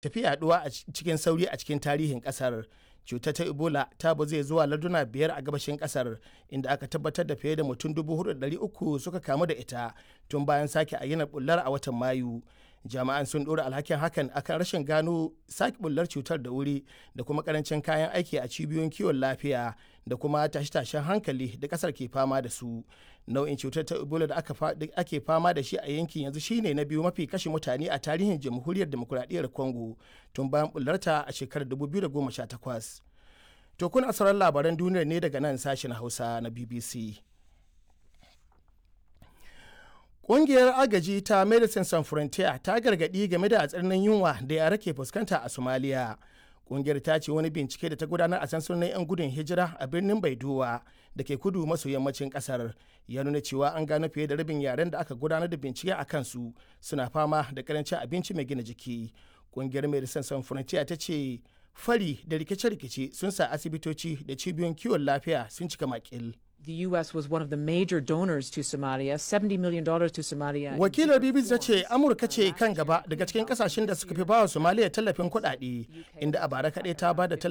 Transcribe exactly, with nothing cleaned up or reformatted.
Tafi yaduwa a cikin sauri a cikin tarihin kasar. Cutar ta Ebola ta bazu zuwa larduna biyar a gabashin kasar, inda aka tabbatar da fiye da mutum dubu huɗu da ɗari uku suka kamu da ita tun bayan sake ayyanar bullar a watan Mayu. Jami'an sun ɗora alhakin hakan akan rashin gano sake bullar cutar da wuri da kuma karancin kayan aiki a cibiyoyin kiwon lafiya da kuma tashe-tashen hankali da kasar ke fama da su. Nau'in cutar ta Ebola da ake fama da shi a yankin yanzu shine na biyu mafi kashe mutane a tarihin Jamhuriyar Demokuraɗiyyar Congo tun bayan bullarta a shekarar dubu biyu da goma sha takwas. To, kuna sauran labaran duniyar ne daga nan sashen Hausa na B B C. Ƙungiyar agaji ta Medecines Sans Frontieres ta gargaɗi game da tsananin yunwa da yara ke fuskanta a Somalia. Ƙungiyar ta ce wani bincike da ta gudanar a sansunan 'yan gudun hijira a birnin Baidowa da ke kudu maso yammacin ƙasar ya nuna cewa an gano fiye da rabin yaren da aka gudanar da bincike a kansu suna fama da karancin abinci mai gina jiki. Ƙungiyar Medecines Sans Frontieres ta ce fari da rikice-rikice sun sa asibitoci da cibiyoyin kiwon lafiya sun cika makil. The U S was one of the major donors to Somalia, seventy million dollars to Somalia. Wakilar B B C ta ce Amurka ce kan gaba daga cikin kasashen da suka fi bawa Somalia tallafin kuɗaɗe, inda a bara kaɗai ta ba da tallafin